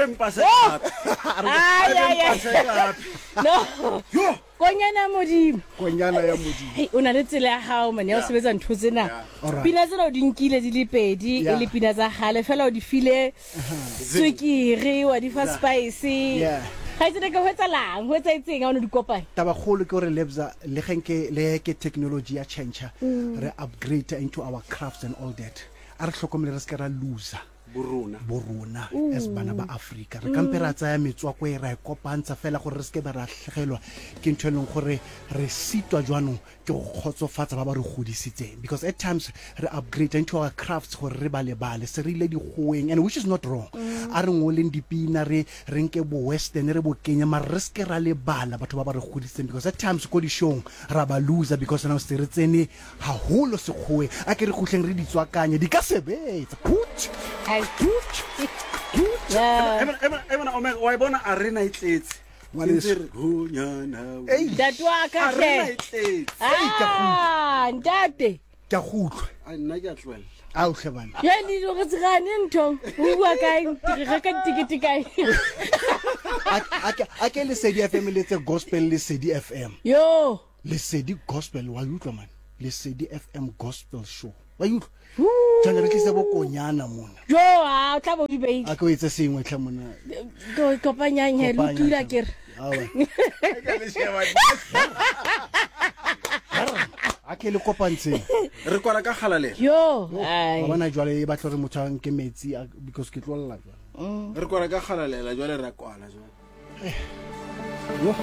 fe mpase gape. Ai, ai, ai. Mpase gape. No. Yo. Konyana Modimo. Konyana ya Modimo. Hei, o na le tsela ya gago mane ya go sebetsa ntho tsena. Alright. Pina tsena o di nkile di le pedi, e le pina tsa gale fela o di file tswekere, wa di fa spice. Ga itse ke go etsalang, go etsaetseng ha o ne di kopanya. Tabakgolo ke gore Lebza le ge nke le ke technology ya change, re upgrade into our crafts and all that. A re hlokomele re se ke ra loser Borona. borona as bana ba Afrika. Re kampe ra tsaya metswako e ra e kopantsha fela gore re se ke ba ra tlhegelwa ke ntho e leng gore re sitwa jwanong ke go kgotsofatsa ba ba re godisitseng, because at times re upgrade into our crafts gore re ba lebale se re ile dikgoweng, and which is not wrong. A re ngoleng dipina, re re nke bo western re bo kenye, mara re se ke ra lebala batho ba ba re godisitseng, because at times ko dishong ra ba loser because now se re tsene haholo sekgoweng. A ke re kgutleng re di tswakanye, di ka sebetsa. Put, put, put. Ebona Omega, wa e bona arena e tletse. Ngwaneso. Ei. Ntate wa ka hle. Arena e tletse. Ah, ntate. Ke a go utlwa. Ai, nna ke a tlohella. Ao hle bana. Ya le re tsegane ntho. O bua kae? Re reka ditekete kae? A ke Lesedi FM le tse gospel Lesedi FM. Yo. Lesedi gospel wa utlwa man. Lesedi FM gospel show. Wa utlwa? Jwale re tlise bo konyana mona. Jo, a o tla bo di beile. A ke o etse sengwe tlhe mona. Ko kopanyang he lo tula ke re. Awa. A ke le kopantsheng. Re kwala ka kgalalelo. Yo, ai. Wa bona jwale e batla gore motho a nke metsi because ke tlo lla jwale. Re kwala ka kgalalela jwale ra kwala jwale. Yo.